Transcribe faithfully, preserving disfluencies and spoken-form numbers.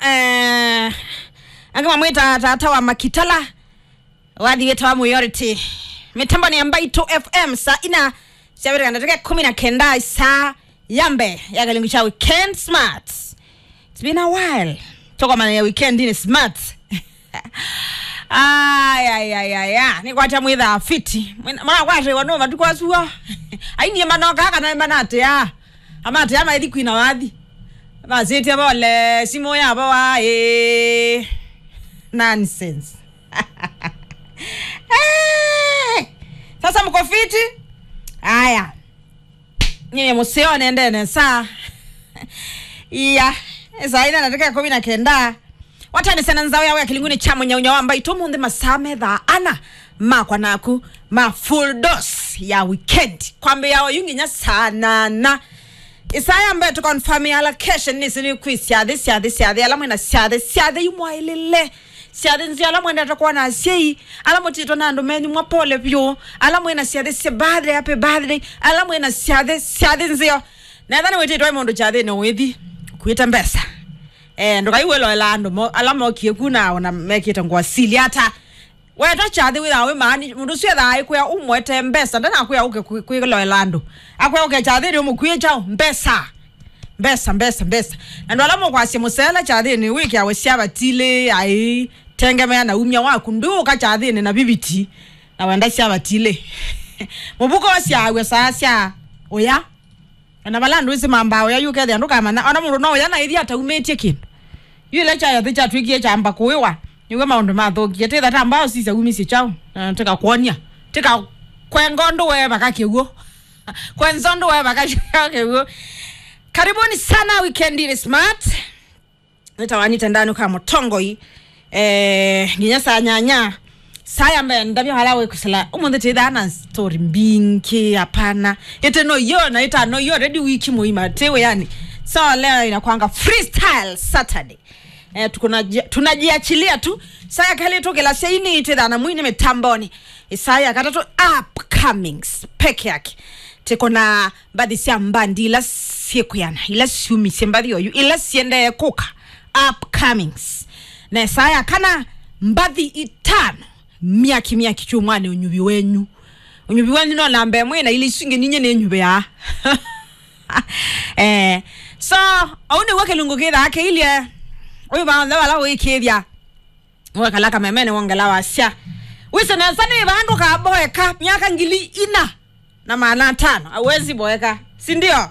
eh, angĩ mamwĩta tata wa Makitala, wathi wĩtawa Mwiority. Mĩtambo nĩ ya Mbaitũ F M, saa ina syavĩtĩka ndatĩka kũmi na kenda, saa ya mbee ya kĩlungu kya Weekend Smart. It's been a while. Tũkomana ya weekend ni smart. Ay, ay, ay, ay, ay. Nĩ kwatya mwĩthaa fiti. Mwĩna-, mwakwatĩwa no matukũ asu o. Ainie manoka kana manatĩa. Amatĩa maithi kwina wathi. Masĩtye vole, simũ yavo waĩ. Nonsense. Eh! Sasa mko fiti? Aya. Nyie mũseo nende nesa. Iya. Saa ina ndatĩka kũmi na kenda. Watanĩsya na nzaũ yawe ya kĩlungu nĩ kya mũnyaunyau wa Mbaitũ ũmũnthĩ masaa me thaa ana makwa naku ma full dose ya weekend. Kwambĩĩa oyu nginya saa nana. Ĩsaa ya mbee tũkonfirm ya location nĩsĩ nĩ kwĩ syathĩ, syathĩ, syathĩ, ala mwĩna syathĩ, syathĩ imwaĩlĩle. Syathĩ nzeo ala mwendete kwona asyai, ala mũtitwe na andũ menyu mwa pole vyũ, ala mwĩna syathĩ sya birthday, happy birthday, ala mwĩna syathĩ, syathĩ nzeo. Netha nĩwĩtĩtwe mũndũ kyathĩnĩ ũithi, kuĩte mbesa. Eh, ndũkaiwĩloela andũ mo-, ala mokie ku na ona mekĩte ngũa sili ata. Weta kyathĩ wĩthaa wĩ maani, mũndũ ũsu ethaa aikwĩa ũmwete mbesa, ndanakwĩa ũke kwĩ-, kwĩloela andũ. Akwĩa ũke kyathĩnĩ ũmũkwĩe kyaũ? Mbesa. Mbesa, mbesa, mbesa. Na andũ ala mũkwasya mũsela kyathĩnĩ wĩkĩawe sya vatilĩ, ai, tengemea na umya waku, ndũũka kyathĩnĩ na viviti, na wenda sya vatilĩ. Mũvuko ũsyaaw'a saa sya ũya. Ona vala andũ ĩsĩ mambaa ũya, yu ũkethĩa ndũkamanya. Ona mũndũ no ũya na ĩthi ataumĩtye kĩndũ. Yu ĩla kyayathĩ kyatw'ĩkie kyamba kũĩwa, nĩw'o maũndũ mathũkie. Tĩtha ta mbao sisya umisye kyaũ. Na tĩkakwony'a. Tĩkakwenga ũndũ wee vaka kĩw'ũ. Kwenza ũndũ wee vaka kĩw'ũ. Karibuni sana Weekend Smart. Nĩtawanĩte ndanũka mũtongoi. Eh, nginya saa nyanya. Saa ya mbee ndavya vala wĩkũsĩla. Ũmũnthĩ tĩthaa na story mbingĩ, hapana. Ĩte no iyo na ĩta no iyo already wiki mũima. Tĩ wĩanĩ. So leo inakwanga freestyle Saturday. Eh, tukunaji-, tunajiachilia tu. Saa ya kelĩ tũkĩlasya ini tĩthaa na mwini mĩtamboni. Ĩsaa ya katatũ upcomings peke yake. Tĩkona mbathi sya mbandi ila syĩkwĩana, ila syumisye mbathi oyu, ila siendee kũka, upcomings. Na ĩsaa ya kana, mbathi itano, myaki, myaki kyumwanĩ ũnyuvi wenyu. Ũnyuvi wenyu no namba ĩmwe na ila isu ingĩ ninye nĩnyuvĩaa. Eh, so, ũu nĩw'o kĩlungu kĩthaa kĩilye. Ũyũ vaonthe vala ũikĩthya. Wekala kamemene wongela wasya. Wĩsĩ nesa nĩ vandũ kaboeka myaka ngili ina na maana atano. Hauwezi boeka. Si ndio?